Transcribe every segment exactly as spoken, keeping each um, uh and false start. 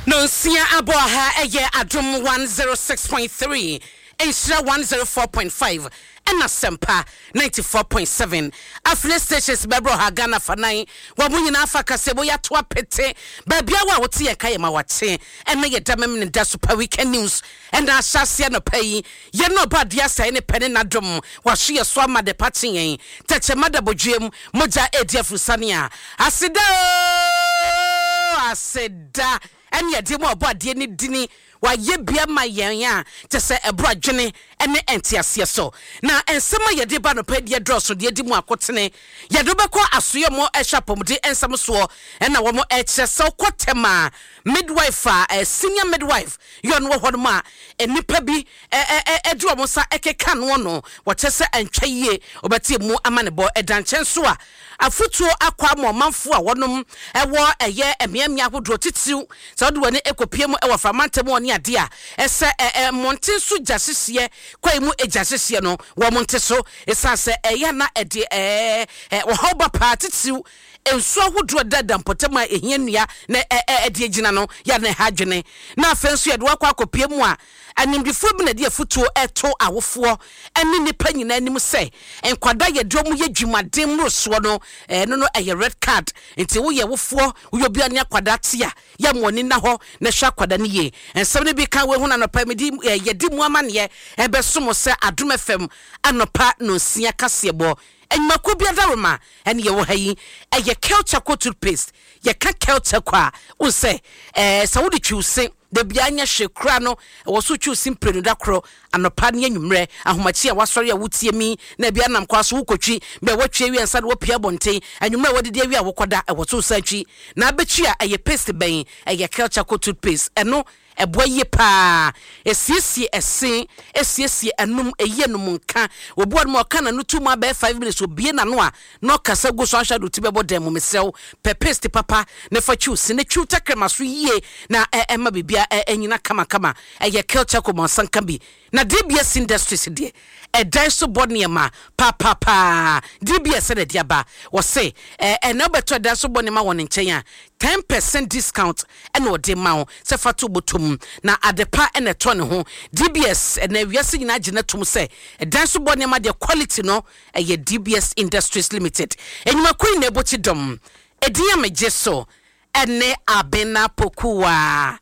Nonsia abɔ ha, ɛyɛ Adom one oh six point three, Nhyira one oh four point five ɛna Sɛmpa ninety-four point seven. Affiliate stations bɛbrɛ ha Ghana fa nan wɔn mo nyinaa fa kasɛbo yɛato apete baabi a wo a wote yɛn ka yɛ ma wakye. Ɛna yɛda mɛm ne da Super Weekend News ɛna ahyɛ aseɛ nɔpa yi. Yɛn na ɔba adeɛ asɛe ne pɛ ne n'adom wahye yɛ so ama de pa kye yɛn tɛkyɛma da bodwiem mogya edi afurusane a aseda ooo, aseda ɛne yɛde mu ɔbɔ adeɛ ne dini wayɛ bia ma yɛn a kyɛ sɛ ɛboro adwene ne nteaseɛ so. Na nsɛm a yɛde ba nɔpɛ deɛ dɔɔso deɛ di mu akotene. Yɛde wobɛkɔ asoyɛ mu ɛhwɛ apɔmuden nsɛm soɔ, ɛna wɔn ɛkyerɛ sɛ wokɔ tɛm a midwife a eh, senior midwife yɛ ɔno wɔ hɔ nom a nnipa bi ɛde wɔn nsa ɛkeka noɔ no, wɔkyɛ sɛ ɛntwa yie. Wɔbɛte mu ama ne bɔ ɛda nkyɛn so a afotuo akɔ ama ɔmanfoɔ a wɔnom ɛwɔ ɛyɛ mmeammea ahodoɔ, titiriw sɛ wɔde wɔn ani mu ɛwɔ framantam wɔ ne adeɛ a ɛsɛ ɛɛ mmɔnten so gya hyehyeɛ kwan mu gya hyehyeɛ no, wɔn nte so, ɛsiane sɛ ɛyɛ na ɛde ɛɛ ɔhaw ba paa, titiriw nsuo ahodoɔ dada mpɔtam a ehia nnua na ɛde gyina no yɛ na ɛha adwene. Na afei nso yɛde wakɔ akɔpie mu a animdifoɔ bi na ɛde afutuo ɛto awofoɔ ɛne nipa nyinaa anim sɛ nkwadaa yɛde wɔn yɛ dwumaden mmorosoɔ no, ɛno no ɛyɛ red card. Nti woyɛ wofoɔ, woyɛ obi a ne akwadaa te a, yɛ mo ani na hɔ na hwɛ akwadaa no yie. Nsɛm no bi ka wɔn ho na anɔpa mi di ɛɛ yɛdi mu amaneɛ ɛbɛsom sɛ Adum F M anɔpa nonsia kaseɛbɔ enyimako bi adaroma. Ɛne yɛwɔ ha yi ɛyɛ Kel Charcoal toothpaste. Yɛka Kel Charcoal a, wo sɛ ɛɛ sɛ wode twiw se dabi anya hwɛ kura no, ɛwɔ so twiw se mprenu da korɔ, anɔpa ne anwummerɛ. Ahomakye a wasɔre a wotie mi na ebi anam kwa so wokɔtwi bɛ wɔtwi awie ansa de wɔpia abɔnten, anwummerɛ a wɔdedi awie a wokɔda, ɛwɔ so san twi na abɛtwi a ɛyɛ paste bɛn? Ɛyɛ Kel Charcoal toothpaste. Ɛno ɛboa yie paa, esiesie ɛse, esiesie ɛnum, eyi ɛnum nka. Obi wɔn mu ɔka n'ano tu mu abɛɛ five minutes obie n'ano a na ɔkasa gu so ahwɛ do ti bɛbɔ dɛm mu. Mesrɛw, pɛ paste papa ne fa twiw si ne twiw tɛkrɛma so yie na ɛ ɛma biribi ɛ ɛnyina kamakama. Ɛyɛ Kel Charcoal mɔnsanka bi. Na D B S Industries deɛ, ɛdan so bɔ nneɛma paapapaa. D B S ɛna ɛde aba, wɔse ɛ ɛna wobɛtɔ ɛdan so bɔ nneɛma wɔ ne nkyɛn a, ten percent discount ɛna ɔde ma wo sɛ fa to bɔtɔ na adepa ɛna ɛtɔ ne ho. D B S ɛna wiase nyinaa gyina tom sɛ ɛdan so bɔ nneɛma deɛ, quality no ɛyɛ D B S Industries Limited. Enyimako yi na ɛbɔ dɔm edin a megye so ɛne Abena Pokuwa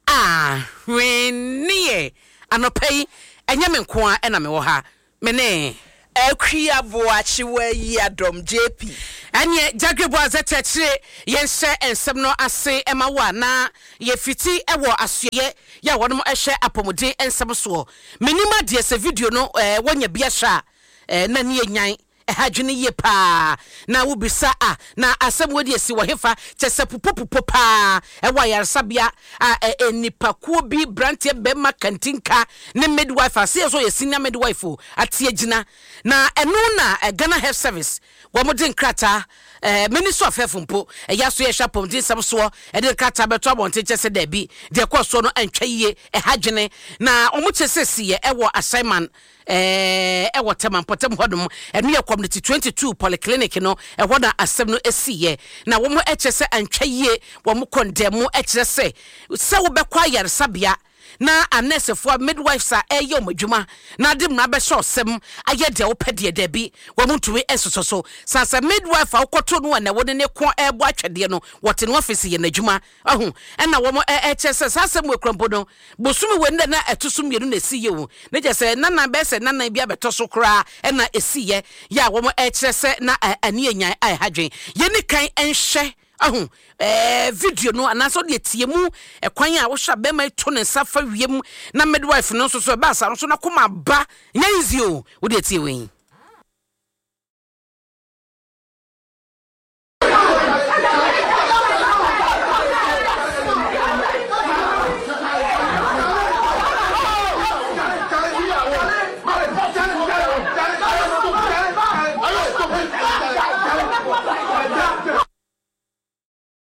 ahweneɛ. Anɔpa yi ɛnyɛ me nko a ɛna mewɔ ha, me ne Akua Boakyewa yi Adɔm J P. Ɛneɛ Gyagre Boazɛ kyerɛkyerɛ yɛnhyɛ nsɛm no ase ɛma wo a, na yɛfiti ɛwɔ asoɛyɛ yɛ a wɔnom ɛhwɛ apɔmuden nsɛm soɔ. Menim adeɛ sɛ video no ɛɛ wɔnya bi ahwɛ a ɛɛ na ne yɛ nyan ɛha adwene yie paa na wobisa a na asɛm wɔ de asi wɔ hefa kyɛ sɛ pupopupo paa ɛwɔ ayaresabea a ɛ nipakuo bi, branteɛ bɛrima kantinka ne midwife aseɛ so yɛ senior midwife o ate agyina. Na ɛno na Ghana Health Service wɔn de nkrataa, ɛɛ Ministry of Health mpo ɛyɛ aso yɛhwɛ apɔmuden nsɛm soɔ, ɛde nkrataa bɛto abɔnten kyɛ sɛ daabi, deɛ ɛkɔɔ soɔ no ɛntwa yie, ɛha dwene. Na wɔn kyɛ sɛ si yɛ ɛwɔ assignment ɛɛ ɛwɔ Tɛma mpɔtam hɔnom, ɛno yɛ Community twenty two polyclinic no, ɛhɔ na asɛm no esi yɛ. Na wɔn ɛkyɛ sɛ ɛntwa yie, wɔn kɔndɛm ɛkyerɛ sɛ sɛ wobɛkɔ ayaresabea na anɛsɛfoɔ, midwives a ɛyɛ wɔn adwuma na ade mmara bɛhyɛ ɔsɛm ayɛ deɛ wopɛ deɛ, daabi, wɔn ntumi ɛsosɔ so sansa. Midwife a wokɔto no a na wɔde ne ko ɛrebɔ atwɛdeɛ no, wɔte no office yɛ n'adwuma ɔho. Ɛna wɔn ɛkyɛ sɛ saa asɛm wɔ ekura mpo no, bosome wɔ nda na ɛto so mmienu na esi yɛ o, ne kyɛ sɛ nanan bɛyɛ sɛ nanan bi abɛtɔ so koraa ɛna esi yɛ yɛ a wɔn ɛkyerɛ sɛ na ani enyan a ɛha dwen. Yɛn ni kan ɛnhwɛ ahu ɛɛ video no anaasɛ ɔde etie mu ɛkwan a wohyɛ bɛrima yi to ne nsa fa wiem na midwife no nso so ɛba asa no so na kɔma ba nyɛ easy o. Wode etie wei.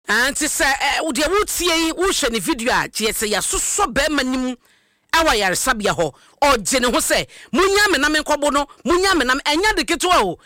Nti sɛ deɛ wotie yi, wohwɛ ne video a, kyerɛ sɛ yɛasosɔ bɛrima no mu ɛwɔ ayaresabea hɔ, ɔgye ne ho sɛ munya me na menkɔbo no, munya me na ɛnyɛ de ketewa o.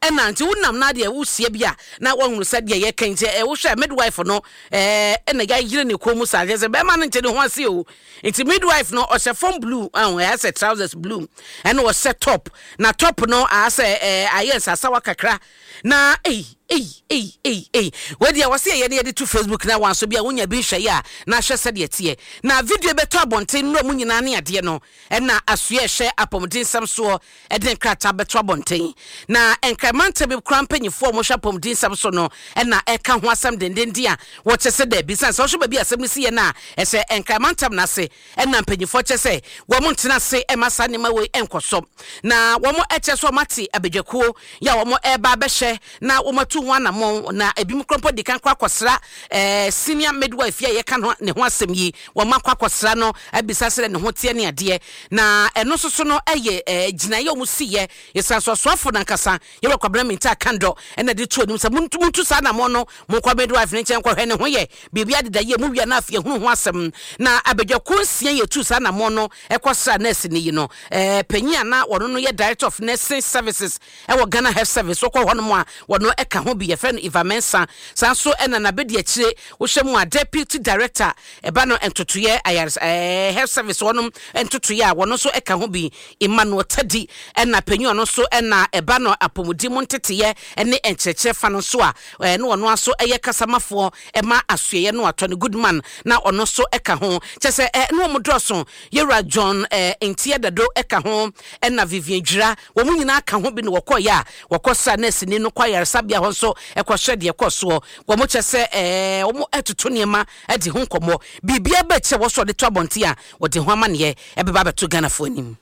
Ɛna nti wonam na deɛ wosia bi a na wahunu sɛ deɛ yɛka nti ɛ wohwɛ midwife no, ɛɛ ɛna yɛayere ne kɔn mu saa kyerɛ sɛ bɛrima no nkyɛn ne ho ase o. Nti midwife no ɔhyɛ fam blue, ɛho ɛyɛ sɛ trousers blue, ɛna ɔhyɛ top, na top no ayɛ ɛɛ ayɛ nsasawa kakra. Na ei ei ei ei ei, wɔdeɛ wɔsi yɛ ne yɛde to Facebook na wɔn so bi a wonya bi nhwɛ yi a na ahwɛ sɛdeɛ teɛ. Na video bɛtɔ abɔnten nnura mu nyinaa ne adeɛ no, ɛna asoɛ ɛhyɛ apɔmuden nsɛm soɔ ɛde nkrataa bɛto abɔnten. Na nkramantam bi kora mpanyinfoɔ a wɔhwɛ apɔmuden nsɛm so no ɛna ɛka ho asɛm dendenden a wɔkyɛ sɛ dɛbi san sɛ ɔhwɛ baabi asɛm no si yɛ no a ɛsɛ nkramantam n'ase. Ɛna mpanyinfoɔ kyɛ sɛ wɔn ntena ase ɛma saa nneɛma wei ɛnkɔ so, na wɔn ɛkyɛ so wɔn ate abadwakuo yɛ a wɔn ɛreba abɛhyɛ na wɔn atu ho anammɔn. Na ebi mu korɔmpo di kan kɔ akɔsra ɛɛ senior midwife a yɛka ne ho asɛm yi. Wɔn akɔ akɔsra no abisa sɛ ne ho teɛ ne adeɛ. Na ɛno nso so no ɛyɛ ɛɛ gyinaeɛ a wɔn si yɛ yɛsan so asoafo nankasa yɛwɔ Kwabena Mintah Akandoh ɛna de to anim sɛ muntu muntu saa anammɔn no, monkɔ midwife ne nkyɛn kɔhwɛ ne ho yɛ biribi adeda yie mu wia na afei ehunu ho asɛm. Na abadwakuo nsia yɛ tu saa anammɔn no ɛkɔsra nurse ne yi no, ɛɛ panyin a na wɔn no yɛ Director of Nursing Services ɛwɔ Ghana Health Service, wɔkɔ hɔnom a wɔn ɛka ho bi, yɛfrɛ no Eva Mensa. Saa nso ɛna n'abedi akyire wohyɛ mu a Deputy Director ɛba no ntotoyɛ ayares ɛɛ health service wɔnom ntotoyɛ a wɔn nso ɛka ho bi, Emmanuel Tadi. Ɛna panyin ɔno nso ɛna ɛba no apɔmuden mu nteteyɛ ɛne nkyerɛkyerɛ fa no nso a ɛɛ ne ɔno nso ɛyɛ kasamafoɔ ɛma asoɛyɛ no atɔ ne Goodman, na ɔno nso ɛka ho. Kyɛ sɛ ɛɛ ne wɔn dɔɔso, yɛwura John ɛɛ Ntia Dado ɛka ho, ɛna Vivian Dwira, wɔn nyinaa ka ho bi na wɔkɔɔyɛ a wɔkɔ sra nurse ni no kɔ ayaresabea hɔ nso ɛkɔhwɛ deɛ kɔ soɔ. Wɔn kyɛ sɛ ɛɛ wɔn ɛtoto nneɛma ɛde ho nkɔmmɔ biribiara bɛkyɛ wɔ so ɔde to abɔnten a wɔde ho amanneɛ ɛbɛba abɛto Ghanafoɔ anim.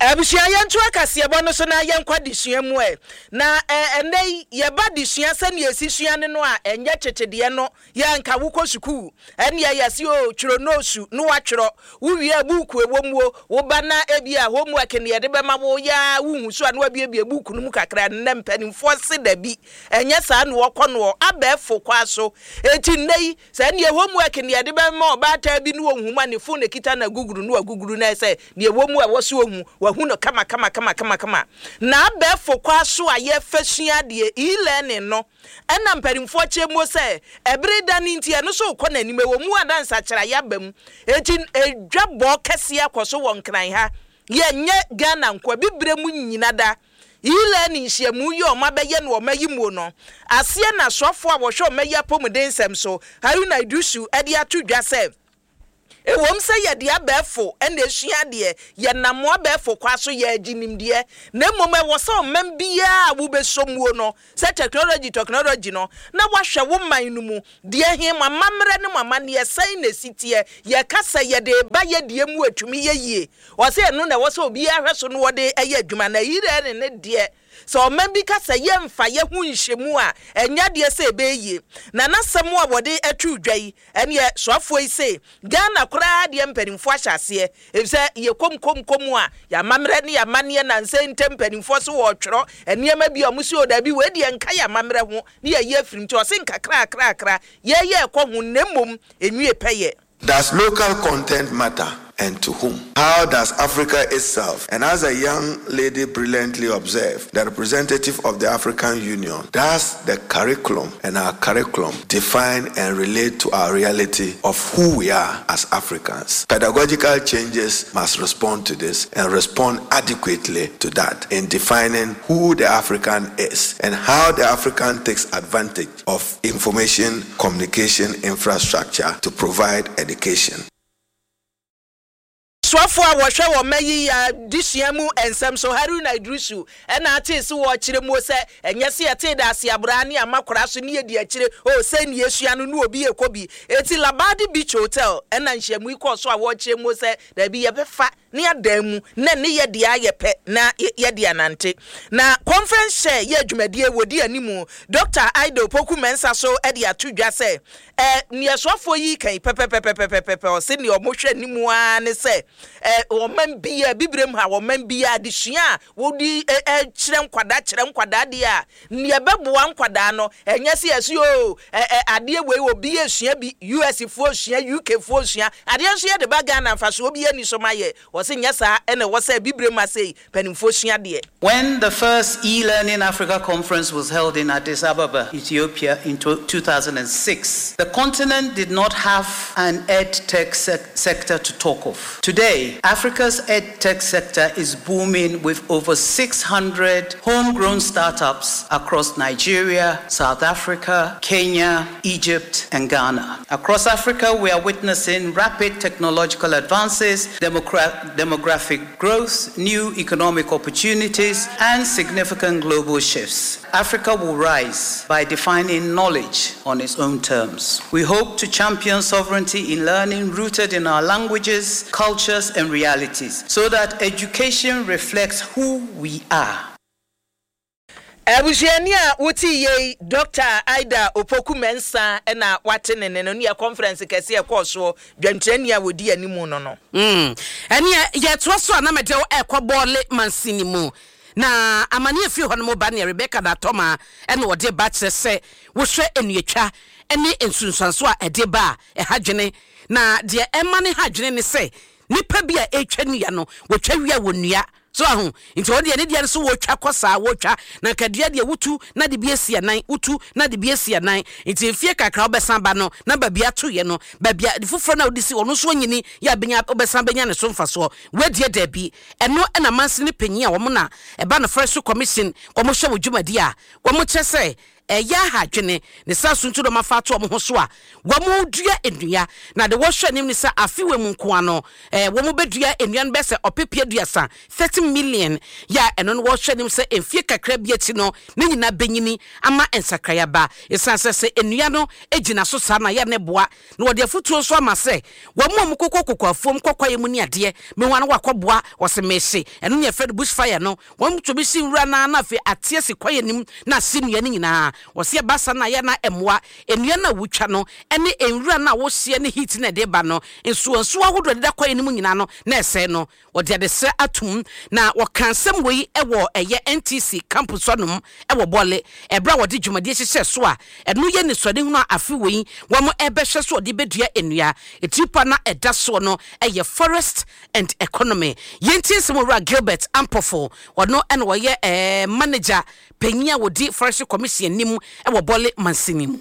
Abusua, yɛnto akaseɛbɔ no so na yɛnkɔ adesua mu ɛ. Na ɛnɛ yi yɛba adesua sɛnea ɛsi sua ne no a ɛnyɛ kyekyedeɛ no. Yɛnka wokɔ sukuu ɛneɛ yɛse o twerɛ noosu ne woatwerɛ, wowie a buuku ɛwɔ mu o, woba na ebi a homework ne yɛde bɛma wo yaa wohu so a na wabiebie buuku no mu kakra. Nnɛ mpanimfoɔ se dabi, ɛnyɛ saa na wɔkɔ noɔ abɛɛfo kwa so. Eti nnɛ yi sɛ neɛ homework ne yɛde bɛma ɔbaatan bi ne wɔnhu mu a ne phone ekita na guguru ne waguguru na ɛsɛ neɛ ɛwɔ mu a ɛwɔ so ohu wahu no kama kama kama kama kama. Na abɛɛfo kwa so a yɛfɛ sua adeɛ, e-learning no, ɛna mpanimfoɔ kyerɛ mu sɛ ɛbere da ne nti ɛno so kɔ n'anim ɛwɔ mu adansakyerɛ aba mu. Eti edwa bɔ kɛseɛ akɔ so wɔ Nkran ha, yɛnyɛ Ghana nkoa, bibire mu nyina da e-learning nhyiamu yi a ɔmo abɛyɛ no ɔmo ayi mu no aseɛ. Na asɔfoɔ a wɔhwɛ ɔmo ayi apɔmuden nsɛm so, Haruna Iddrisu, ɛde ato dwa sɛ ewom sɛ yɛde abɛɛfo ɛna esua adeɛ, yɛnam abɛɛfo kwa so yɛagye nimdeɛ, na mmom ɛwɔ sɛ ɔman biara a wobɛsɔ muo no sɛ technology technology no na wahwɛ wo man no mu deɛ he mo amammerɛ ne mo amanneɛ sɛn na esi teɛ, yɛka sɛ yɛde ba yɛdeɛ mu atumi yɛ yie. Ɔsɛ ɛno na ɛwɔ sɛ obiara hwɛ so no wɔde ɛyɛ adwuma. Na yirɛ ne ne deɛ sɛ ɔman bi ka sɛ yɛmfa yɛ ho nhyɛmu a ɛnyɛ adeɛ sɛ ɛbɛyɛ yie. Na n'asɛm a wɔde atu dwa yi, ɛneɛ soafoɔ yi se Ghana koraa deɛ mpanimfoɔ ahyɛ aseɛ, efisɛ yɛ kom kom kom a yɛamammerɛ ne yɛamanneɛ nansa ntam mpanimfoɔ so wɔretwerɛ nneɛma bi a ɔmo si o dabi, wei deɛ nka yɛamammerɛ ho ne yɛyi afirim. Nti ɔse nkakrakrakra yɛyɛ ɛkɔ ho, na mmom enwie pɛyɛ. Does local content matter and to whom? How does Africa itself, and as a young lady brilliantly observed, the representative of the African Union, does the curriculum and our curriculum define and relate to our reality of who we are as Africans? Pedagogical changes must respond to this and respond adequately to that in defining who the African is and how the African takes advantage of information communication infrastructure to provide education. Soafoɔ a wɔhwɛ wɔ mma yi adesua mu nsɛm so, Haruna Iddrisu, ɛna ate se wɔkyerɛ mu sɛ ɛnyɛ sɛ yɛtee da ase aboraa ne ama koraa so ne yɛdi akyire o sɛ ne yɛsua no ne obi yɛkɔ bi. Eti Labadi Beach Hotel ɛna nhyiamu yi kɔɔ so a wɔkyerɛ mu sɛ daabi, yɛbɛfa ne adan mu na ne yɛde ayɛ pɛ na yɛde anante. Na conference chair yɛ adwumadie wɔdi animu, Doctor Ida Opoku Mensa, so de ato dwa sɛ ɛ nea soafoɔ yi kan pɛpɛpɛpɛpɛpɛ, ɔsɛ nea ɔmo hwɛ anim ara ne sɛ Ɛ ɔman bia bibirem ha, ɔman bia adesua a wodi ɛ kyerɛ nkwadaa kyerɛ nkwadaa deɛ a nea ɛbɛboa nkwadaa no, ɛnyɛ sɛ yɛsi o ɛ ɛ adeɛ wei obi esua bi, U S foɔ sua, U K foɔ sua adeɛ nso yɛde ba Ghana, mfasoɔ bi ani so ma yɛ. Wɔsi nyɛ saa ɛna ɛwɔ sɛ bibirem ha sei mpanimfoɔ sua deɛ. When the first e-Learning Africa conference was held in Addis Ababa, Ethiopia in two thousand six, the continent did not have an ed-tech sec- sector to talk of. Today, Africa's ed-tech sector is booming with over six hundred homegrown startups across Nigeria, South Africa, Kenya, Egypt, and Ghana. Across Africa, we are witnessing rapid technological advances, demogra- demographic growth, new economic opportunities, and significant global shifts. Africa will rise by defining knowledge on its own terms. We hope to champion sovereignty in learning rooted in our languages, cultures, and realities so that education reflects who we are. Abusuani a wote yei, Doctor Ida Opoku Mensa ɛna wate ne ne no ne yɛ conference kɛseɛ ɛkɔɔ soɔ, dwantirani a wɔdi anim no no Mm. Ɛneɛ yɛtoa so a na mɛde wo ɛkɔ Bɔɔle mansini mu na amane afiri hɔ no mu ba neɛ Rebecca Datɔma ɛna wɔde ba kyerɛ sɛ wohwɛ nnuatwa ne nsunsuanso a ɛde ba a, ɛha dwene, na deɛ ɛma ne ha dwene ne sɛ nipa bi a ɛretwa nnua no, wɔtwa wie a wɔ so aho nti wɔn deɛ ne deɛ no so wɔtwa kɔ saa, wɔtwa na nkadua deɛ wotu na de bi esi anan, wotu na de bi esi anan, nti mfie kakra wobɛsan ba no na baabi ato yɛ no, baabi a foforɔ na wode si ɔno nso anyini yɛ abɛnya, wobɛsan bɛnya ne so mfasoɔ. Wɔadie daabi, ɛno ɛna mansi ne panyin a wɔn na ɛba no Forestry Commission, wɔn hyɛ wɔ dwumadi a wɔn kyerɛ sɛ ɛyɛ ahadwene ne saa so nso dɔm afa ato wɔn ho so a wɔn dua nnua, na de wɔhwɛ anim ne sɛ afe wɔ mu nkoa no ɛɛ wɔn bɛdua nnua no bɛsɛ ɔpepe aduasa, thirty million, yɛ a ɛno no wɔhwɛ anim sɛ mfie kakra bi akyi no ne nyinaa bɛnyini ama nsakraeɛ ba, ɛsiane sɛ sɛ nnua no gyina so saa na yɛ ne boa. Na wɔde afotuo nso ama sɛ wɔn a wɔkokɔ koko afuom kɔkɔɛ mu ne adeɛ mehu ano wakɔboa wɔsɛ mehye, ɛno ne yɛfrɛ no bush fire no, wɔn tumi si nwura naa na afei ate asi kwaeɛ nim na ase nnua no nyinaa. Wɔsɛ ɛba sa no a yɛ na mmoa nnua no a wotwa no ne nwura no a wohyia ne heat no ɛde ba no, nsuwansuwa ahodoɔ deda kwaeɛ no mu nyinaa no na ɛsɛe no. Wɔde adesrɛ atom na wɔka nsɛm wei wɔ ɛyɛ N T C campus hɔnom wɔ Bɔle, ɛberɛ a wɔde dwumadie hyehyɛ so a ɛno yɛ nisuadehunu a afe wei wɔn ɛbɛhwɛ so wɔde bɛdua nnua. Etiripa na ɛda soɔ no ɛyɛ forest and economy. Yɛntie nsɛm Owura Gilbert Ampɔfo, ɔno ɛna wɔyɛ ɛɛ manager panyin a wɔdi Forestry Commission anim wɔ Bɔle mansini mu.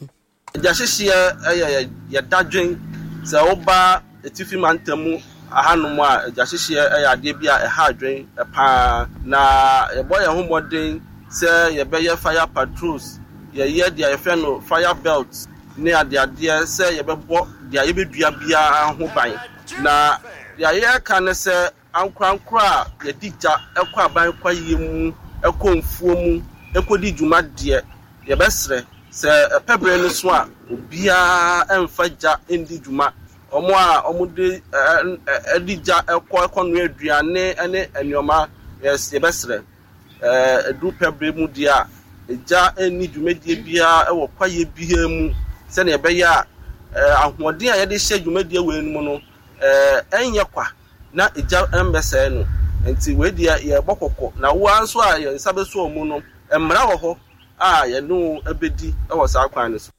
Gyahyehyeɛ yɛ yɛdadwen sɛ woba Atifi Mantam mu ahanom a, gyahyehyeɛ yɛ adeɛ bi a ɛha adwen paa, na yɛbɔ yɛn ho mmɔden sɛ yɛbɛyɛ fire patrols, yɛyɛ deɛ yɛfrɛ no fire belt ne adeadeɛ sɛ yɛbɛbɔ deɛ yɛbɛdua biara ho ban. Na deɛ yɛreka ne sɛ ankorankoro a yɛde gya ɛkɔ aban kwaeɛ mu, ɛkɔ mfuo mu ɛkɔdi dwuma deɛ, yɛbɛsrɛ sɛ ɛpɛ berɛ no so a obiara ɛmfa gya ndi dwuma. Ɔmo a ɔmo de ɛde gya ɛkɔ ɛkɔnoa aduane ɛne nneɛma, yɛbɛsrɛ ɛɛ ɛduru pɛ berɛ mu deɛ a, gya nni dwumadie biara ɛwɔ kwaeɛ biara mu, sɛnea ɛbɛyɛ a ɛɛ ahoɔden a yɛde hyɛ dwumadie wei no mu no ɛɛ ɛnyɛ kwa na egya mbɛsɛe no. Nti wei deɛ yɛbɔ kɔkɔ, na woa nso a yɛn nsa bɛso wɔn mu no, mmara wɔ hɔ a yɛne wo bɛdi wɔ saa kwan no so.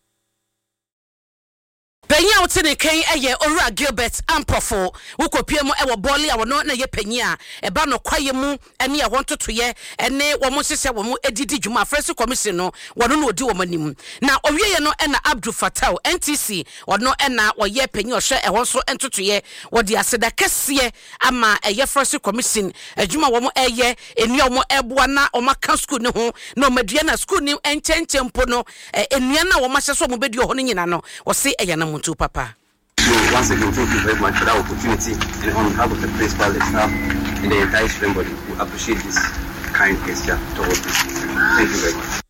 Panyin a wote ne kan yɛ Owura Gilbert Ampɔfo. Wokɔpie mu wɔ Bɔɔle a wɔno na yɛ panyin a ɛba no kwaeɛ mu ne ɛhɔ ntotoyɛ ne wɔn nhyehyɛ wɔn didi dwuma, Forestry Commission no, wɔno na ɔdi wɔn anim. Na ɔwieɛ no ɛna Abdul Fatau, N T C, ɔno ɛna wɔyɛ panyin ɔhwɛ ɛhɔ nso ntotoyɛ. Wɔde aseda kɛseɛ ama ɛyɛ Forestry Commission adwuma wɔn ɛyɛ, nnua wɔn ɛboa na wɔn aka sukuu ne ho na wɔn adua na sukuu ne nkyɛnkyɛn mpo no, nnua no a wɔn ahyɛ so wɔn bɛdua hɔ no nyinaa no, wɔse ɛyɛ anamontuo papa. So once again, thank you very much for that opportunity. And on behalf of the principal, the staff, and the entire student body, we appreciate this kind gesture towards this. Thank you very much.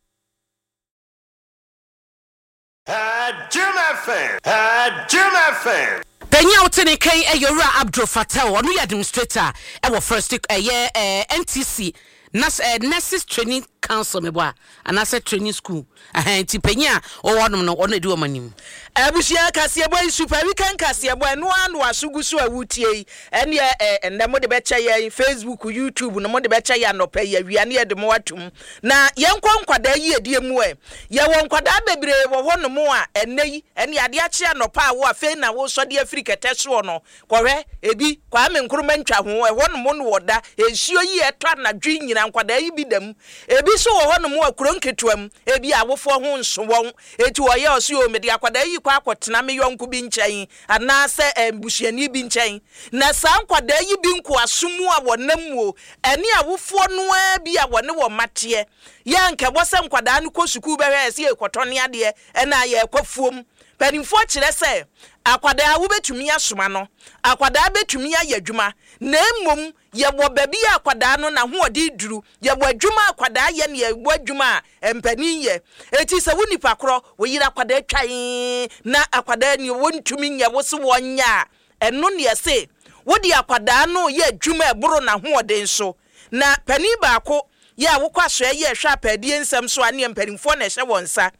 Jim F M. Jim F M. Panyin a wote ne kan ɛyɛ Owura Abdul Fatah, ɔno yɛ administrator ɛwɔ first ɛyɛ ɛɛ N T C Nas ɛɛ Nurses Training Council meboa anaasɛ training school ɛhɛn, nti panyin a ɔwɔ hɔnom no, ɔno edi wɔn anim. Abusua, kaseɛbɔ yi, Super Weekend kaseɛbɔ, ɛno ara na waso gu so a wotie yi. Ɛneɛ ɛ ɛnɛ mode bɛkyɛ yɛn Facebook, YouTube no, mode bɛkyɛ yɛn anɔpɛ yi, awia ne yɛde mo atum. Na yɛnkɔ nkwadaa yiedie mu. Ɛ yɛwɔ nkwadaa bebree wɔ hɔnom a ɛnɛ yi ɛne adeɛ akye anɔpa a wo afei na wosɔde afiri kɛtɛ soɔ no, kɔhwɛ ebi Kwame Nkrumah ntwa ho ɛhɔnom no, wɔda nsuo yi ɛtɔ anadwo yi nyina. Nkwadaa yi bi da mu. Ebi nso wɔ hɔnom a kuro nketewa mu, ebi awofoɔ ho nso wɔn eti wɔyɛ ɔso yɛ omede akwadaa yi kɔ akɔtena me yɔnko bi nkyɛn anaasɛ mbusuani bi nkyɛn. Na saa nkwadaa yi bi nkoaso mu a wɔnam mu o, ɛne awofoɔ noa bi a wɔne wɔn mateɛ yɛ nkɛbɔ sɛ nkwadaa no kɔ sukuu bɛhwɛ ɛsɛ yɛkɔtɔ ne adeɛ ɛna yɛkɔ fuom. Mpanimfoɔ kyerɛ sɛ akwadaa wobɛtumi asoma no, akwadaa bɛtumi ayɛ adwuma, na mmom yɛwɔ baabi a akwadaa no n'ahoɔden duru. Yɛwɔ adwuma a akwadaa yɛ ne yɛwɔ adwuma a mpanin yɛ. Eti sɛ wo nipa korɔ wo yere akwadaa twan na akwadaa ni wɔntumi nyɛ wo so wɔnyɛ a, ɛno ne yɛse wode akwadaa no yɛ adwuma ɛboro n'ahoɔden so. Na panin baako yɛ a wokɔ asoɛ yɛ ɛhwɛ apɛɛdie nsɛm so a, ne mpanimfoɔ na ɛhyɛ wɔn nsa,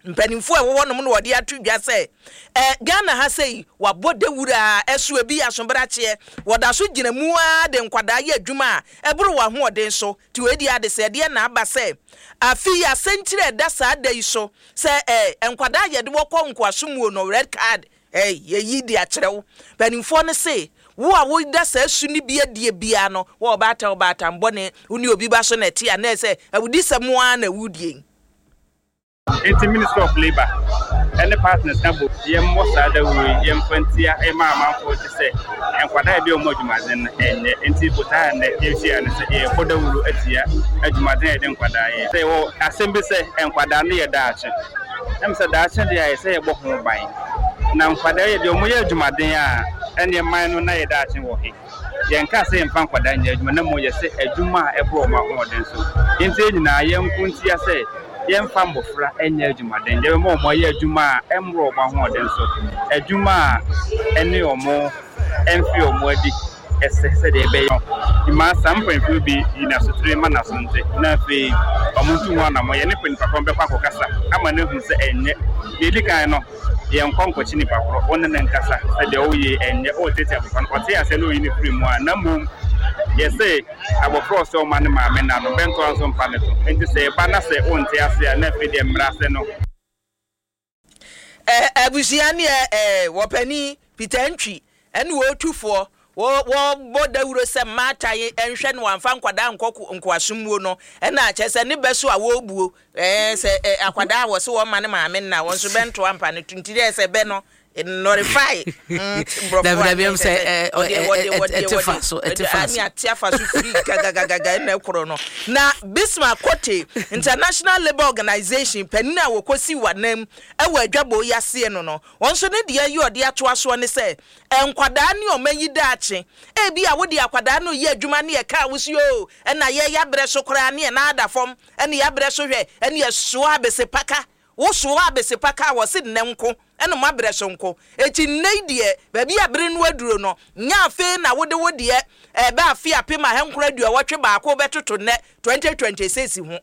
mpanimfoɔ a ɛwɔ hɔnom no, wɔde ato dwa sɛ ɛ Ghana ha sɛyi wabɔ dawura a ɛso ebi asobrakyeɛ wɔda so gyina mu ara de nkwadaa yɛ adwuma a ɛboro wɔn ahoɔden so. Te wei di ade sɛ ɛdeɛ na aba sɛ afi yi asɛnkyerɛ ɛda saa da yi so sɛ ɛ nkwadaa yɛde wɔkɔ nkoaso mu no, red card ɛ yɛyi de akyerɛ wo. Mpanimfoɔ no se wo a woda saa su no bi adie biara no, wɔ ɔbaatan ɔbaatan bɔne wo ne obi ba so na ɛte a, na ɛsɛ awudi sɛ mo ara na awudie. Nti Ministry of Labour ɛne partners na bo yɛmmɔ saa dawuro yi, yɛmfa ntia ɛma amanfoɔ te sɛ nkwadaa a yɛde wɔn adwumaden no ɛnyɛ. Nti botaa nnɛ yɛhyia no sɛ yɛbɔ dawuro atia adwumaden a yɛde nkwadaa yɛ. Sɛ yɛwɔ asɛm bi sɛ nkwadaa no yɛ daakye, ɛm sɛ daakye deɛ a yɛsɛ yɛbɔ ho ban, na nkwadaa yɛ deɛ wɔn yɛ adwumaden a, ɛneɛ man no na yɛ daakye wɔ he? Yɛnka sɛ yɛmfa nkwadaa nyɛ adwuma, na mmom yɛsɛ adwuma a ɛboro wɔn ahoɔden so. Nti yɛn nyinaa yɛnko ntia sɛ yɛmfa mmɔfra nyɛ adwumaden. Yɛbɛma wɔn ayɛ adwuma a ɛmmoro wɔn ahoɔden so, adwuma a ɛne wɔn ɛmfe wɔn adi ɛsɛ sɛdeɛ ɛbɛyɛ mmaa saa mpanyinfoɔ bi yi n'asotire ma n'aso nte, na afei wɔn nso ho anammɔ yɛne nipa korɔ bɛkɔ akɔkasa ama no ahu sɛ ɛnyɛ deɛ edi kan no. Yɛnkɔ nkɔkye nipa korɔ, wɔn ne ne nkasa sɛ deɛ ɔyɛ ɛnyɛ, ɔretete abɔfra no, ɔte asɛ na ɔyi ne firi mu a. Na mmom yɛsɛ abɔfra ɔsɛ ɔma ne maame na no bɛntoa nso mpa ne to. Nti sɛ ɛba na sɛ ɔnte ase a, na afei deɛ mmara sɛ no. Ɛ abusua ne ɛ ɛ wɔpani Peter Ntwi ɛne wɔtufoɔ wɔ wɔbɔ dawuro sɛ mmaatan nhwɛ no wɔamfa nkwadaa nkɔ nkoasommuo no, ɛna kyerɛ sɛ ne bɛ so a wɔrebuo ɛɛ sɛ ɛ akwadaa a wɔse wɔma ne maame nna wɔn nso bɛntoa mpa ne to. Nti dɛ sɛ bɛ no nɔrifai. Dabi, dabi, ɛm sɛ, ɛ, ɛ, ɛ, ɛte fa so, ɛte fa so. Ne ate afa so firi gagagagaga ɛna ɛkorɔ no. Na Bismarck Kote, International Labour Organization panin a wɔkɔsi wanam ɛwɔ adwabɔ yi aseɛ no no wɔn nso ne deɛ yi ɔde atoa soɔ ne sɛ nkwadaa ne ɔma yi daakye, ebi a wode akwadaa no yɛ adwuma ne yɛka a wosi o, ɛna yɛ yɛabrɛ so koraa ne yɛn ada fam, ɛne yɛabrɛ so hwɛ, ɛne yɛsoa abese paka, wosoa abese paka a wɔsi nnɛ nko ɛna mo abrɛ so nko. Eti nnɛ yi deɛ, baabi a bere no aduro no nya afei na wode wo deɛ ɛbɛ afe apem ahankoro aduɔwɔtwe baako bɛtoto nnɛ twenty twenty six ho.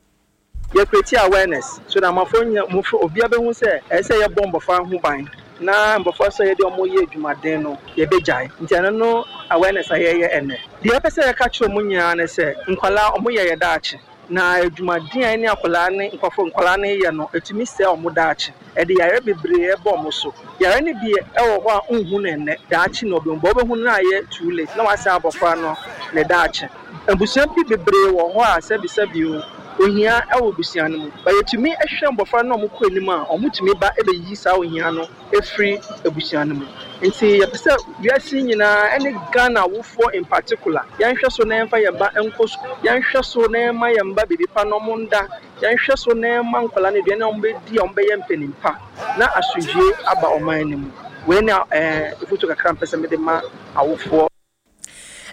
Yɛ create awareness so that amafo nya mofo obiara bɛhu sɛ ɛsɛ sɛ yɛbɔ mbɔfra ho ban, na mbɔfra sɛ yɛde ɔmo yɛ adwumaden no yɛbɛgyae. Nti ɛno no awareness a yɛyɛ ɛnɛ deɛ, yɛpɛ sɛ yɛka kyerɛ ɔmo nyinaa ne sɛ nkwalaa ɔmo yɛ yɛ daakye, na adwumaden a ɛne akwadaa ne nkurɔfo nkwalaa ne yɛ no ɛtumi sɛ ɔmo daakye, ɛde yare bebree ɛbɔ ɔmo so. Yare no bi ɛwɔ hɔ a nhu no ɛnɛ, daakye na ɔbɛhu bɔ ɔbɛhu no ayɛ too late na wasɛ abɔfra no ne daakye. Abusua bi bebree wɔ hɔ a sɛbisɛbi o, ohia ɛwɔ abusua no mu ba, yɛtumi hwɛ mbɔfra no a ɔmo kɔ anim a, ɔmo tumi ba ɛbɛyi saa ohia no efiri abusua no mu. Nti yɛpɛ sɛ wiase nyinaa ɛne Ghana awofoɔ in particular, yɛnhwɛ so na yɛmfa yɛn ba nkɔ sukuu, yɛnhwɛ so na yɛmma yɛn ba biribi pa na ɔmo nda, yɛnhwɛ so na yɛmma nkwadaa no aduane a ɔmo bɛdi a ɔmo bɛyɛ mpanin pa na asomdwie aba ɔman no mu. Wei na ɛɛ efutu kakra mpɛ sɛ mede ma awofoɔ.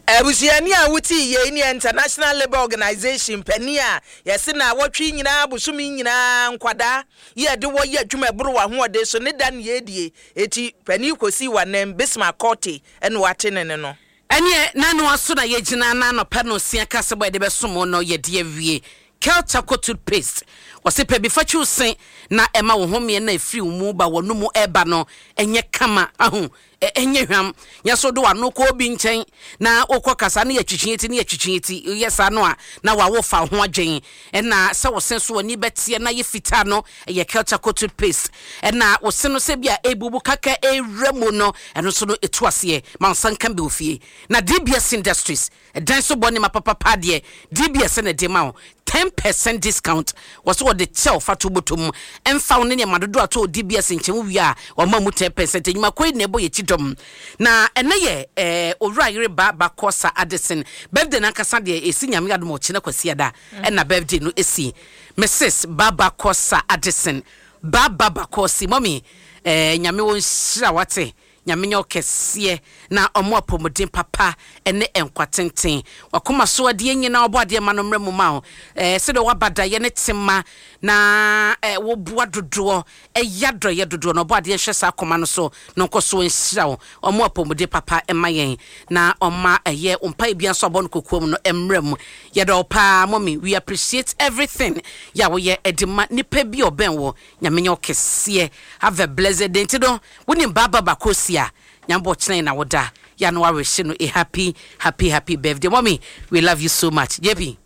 Abusuani a wotii yei ne International Labour Organization panin a yɛse na wɔtwe nyinaa, bosome nyinaa, nkwadaa yɛde wɔyɛ adwuma ɛboro wɔ ahoɔden so ne da ne yɛdie. Eti panin kɔsi wanam Bismarck Kote ɛna wate ne ne no. Ɛneɛ n'ano aso na yɛgyina na anɔpa no osia kasɛbɔ a yɛde bɛsom no, yɛde awie. Kel Charcoal Toothpaste, wɔse pɛ bi fa twi wo se na ɛma wo homeɛ no a ɛfiri wo mu ba w'anomu ɛreba no nyɛ kama, ahu, ɛnyɛ hwam. Nyɛ so wode w'ano kɔ obi nkyɛn na wokɔ kasa na yɛtwitwi ti na yɛtwitwi ti, woyɛ saa no a na wawo fa wo ho adwen. Ɛna sɛ wo se so w'ani bɛteɛ na ayɛ fitaa no, ɛyɛ Kel Charcoal Toothpaste. Ɛna wo se no sɛ bi a ɛrebubu kaka ɛrewura mu no, ɛno nso no ɛtu aseɛ. Ma wo nsa nka bi wɔ fie. Na D B S Industries, Ɛdan so bɔ nneɛma papapa deɛ, D B S na ɛde ma wo ten percent discount. Wɔ so wɔde kyɛ wo fa to bɔtɔ mu. Ɛmfa wo ne nneɛma dodoɔ a tɔ wɔ D B S nkyɛn, wo wie a wɔma mu ten percent. Nnwumakuo yi na ɛbɔ yɛn akyi dɔm. Na ɛnɛ yɛ ɛɛ Owura Yere Ba Bakɔsa Addison birthday n'ankasa deɛ, ɛsi Nyame adom a ɔkyena Kwasiada ɛna birthday no ɛsi. Missus Baba Kɔsa Addison, Baba Bakɔsi, mummy, ɛɛ Nyame wɔ nhyira wate. Nyame nyɛ wo kɛseɛ na ɔmo apɔmuden papa ne nkwa tenten. Wakoma so adeɛ nyinaa ɔbɔ adeɛ ma no mmerɛ mu ma wo. Ɛɛ sɛdeɛ waba dayɛ ne tema na ɛɛ woboa dodoɔ ɛyɛ adɔyɛ dodoɔ no, ɔbɔ adeɛ nhwɛ saa akoma no so na ɔnkɔ so nhyira wo. Ɔmo apɔmuden papa mma yɛn na ɔma ɛyɛ mpaeɛ biara nso abɔ no kokoam no mmerɛ mu. Yɛdɔ wo paa, mommy, we appreciate everything yɛ a woyɛ ɛde ma nipa bi a ɔbɛn wo. Nyame nyɛ wo kɛseɛ. Have a blessed day. Nti no wonim Baaba Bakosi a Nyame bɔ kyerɛn na woda yɛ no awerɛhyɛ no a happy, happy, happy birthday, mommy. We love you so much, J P.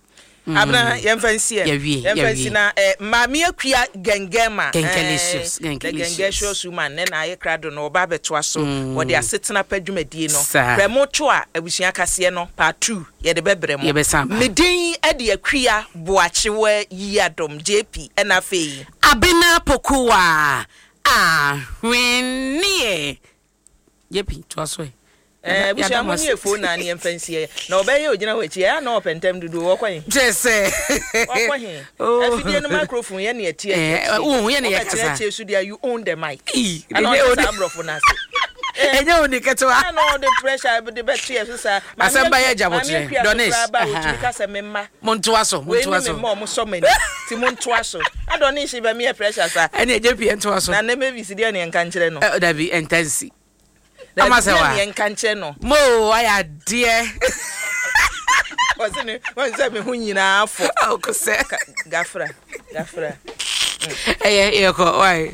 Mm. Abena, yɛmfa nsi ɛ. Yɛwie. Yɛmfa nsi yɛwie. Na eh, Maame Akua Gɛngɛma. Gɛngɛlicious, eh, the Gɛngɛlicious. Gɛngɛlicious woman ne na ayɛ krado no, ɔba abɛtoa so. Wɔde asetena pa dwumadie no Saa. prɛmo to a abusua kaseɛ no part two yɛde bɛbrɛ mo. Yɛbɛsan ba. Me din de Akua Boakyewa Yiadom J P, ɛna afei Abena Pokuwa Ahweneɛ. J P, toa so ɛ. Eh, abusua mo ne efo na ne yɛmfa nsi ɛ na ɔbɛyɛ ogyina hɔ akyi ɛyɛ na ɔpɛ ntɛm dodo, wɔkɔ he? Kyerɛ sɛ wɔkɔ he? Oh. Afidie no microphone yɛ ne ɛte. Eh, wohu, yɛ ne yɛkasa. Wobɛkyerɛkyerɛ so deɛ, you own the mic. Ii, ɛna ɛnyɛ ɔde ode- saa aborɔfo no ase. Ɛnyɛ wo ni ketewa. Ɛna ɔde pressure de bɛto yɛ so saa. Asɛm ba yɛ agya. Maame Botrɛ. Akua so Donish. koraa ba a Aha. wɔtumi ka sɛ me mma montoa so. Wei ne Montoa me so. mma, ɔmo sɔ m'ani nti montoa so. Adɔ ne nhye bɛ meyɛ pressure saa. Ɛne J P ɛntoa so. Na ne Mavis deɛ, ne yɛnka nkyerɛ no. Ɛ, dabi, ɛnta nsi. Dabi, Ama sɛ deɛ wa. ne yɛnka nkyerɛ no. Mo ayɛ adeɛ. Ɔse ne wɔn sɛ me ho nyinaa fɔ. Ɔkɔ sɛ Gafra gafra. Ɛyɛ yɛkɔ wae.